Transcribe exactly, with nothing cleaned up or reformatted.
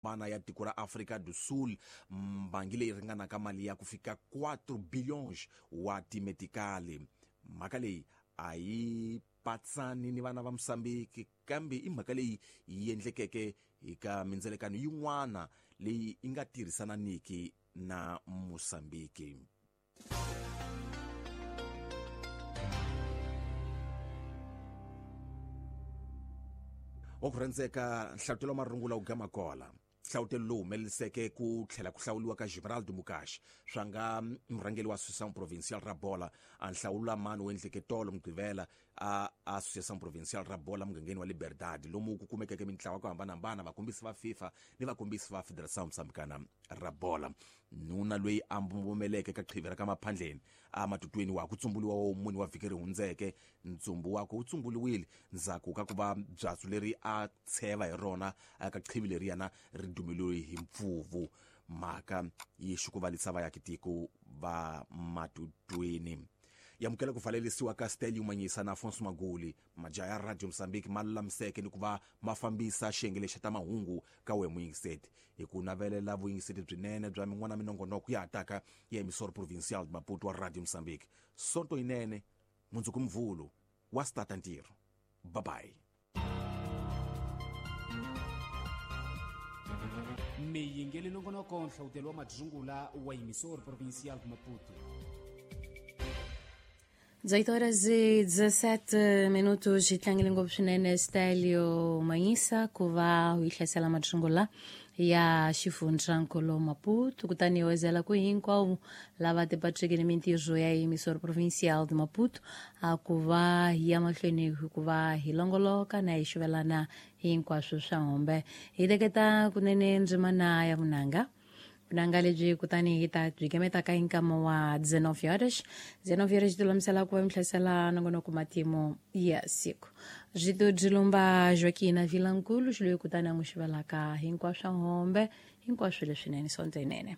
Hambana ya tiko ra Afrika do Sul, mbangi leyi ringanaka mali ya ku fika quatro billions wa timetikali. Mhaka leyi a yi patsani ni vana va Mosambiki, kambe i mhaka leyi yi endlekeke eka mindzelekano yin'wana leyi yi nga tirhisananiki na Mosambiki. Wa ku rhandzeka, nhlavutelo wa marungula wu gama kola. Nhlavutelo lowu humeleliseke ku tlhela ku hlawuriwa ka Gibraldo Mukashi swa nga murhangeri wa Associação Provincial ra Bola. A nhlawulo mani wu endleke tolo Mugqivela a Associação Provincial ra Bola mugangeni wa Liberdade, lomu ku kumekeke mintlawa ku hambanahambana, vakombisi va FIFA ni vakombisi va Federação Moçambicana ra Bola. Nuna loyi a mbombomeleke ka qhivi ra ka Maphandleni a matutweni wa ku tsumbuliwa wa muni wa vhiki ri hundzeke, ntsumbu wakwe wu tsumbuliwile ndzhaku ka ku va byatsu leri a tsheva hi rona ka qhivi leriyana ri dumeliwe hi mpfuvu. Mhaka yi xukuvalisa vaakatiko va matutweni. Yamukela ku valelisiwa ka Stelio Manyisa na Afonso Maguli, majaha ya Radio Mozambique ma lulamiseke ni ku va ma fambisa xiyenge lexi ta mahungu ka we muyingiseti, hi ku navelela vuyingiseti byinene bya min'wana minongonoko ya hataka ya Emissora Provincial de Maputo wa Radio Mozambique. Sonto yinene, mundzuku Mvhulu wa stata ntirho. Bye bye. Miyingeli nongonoko nhlawutelo wa madzungula wa Emissora Provincial de Maputo. dezoito horas e dezassete minutos, tlangele ngopfu swinene Stelio Manyisa ku va u yi hlasela madzungula ya xifundzankulu Maputo, kutani wezela ku hinkwavo lava tipatriki ni mintirho ya Emissora Provincial de Maputo a ku va hi ya mahlweni hikuva hi longoloka na hi xuvelana hinkwaswo swa hombe. Hi teketa kunene ndzimana ya vunanga vunanga lebyi, kutani hi ta byi kemeta ka hinkama wa dezenove horas. Dezenove horas ti lulamisela ku va mi hlasela nongonoko matimu ya siku. Byi byi lumba Joaquina Vilankulu xiloyi, kutani a n'wi xivelaka hinkwaswo hombe hinkwaswo leswinene sonto yinene.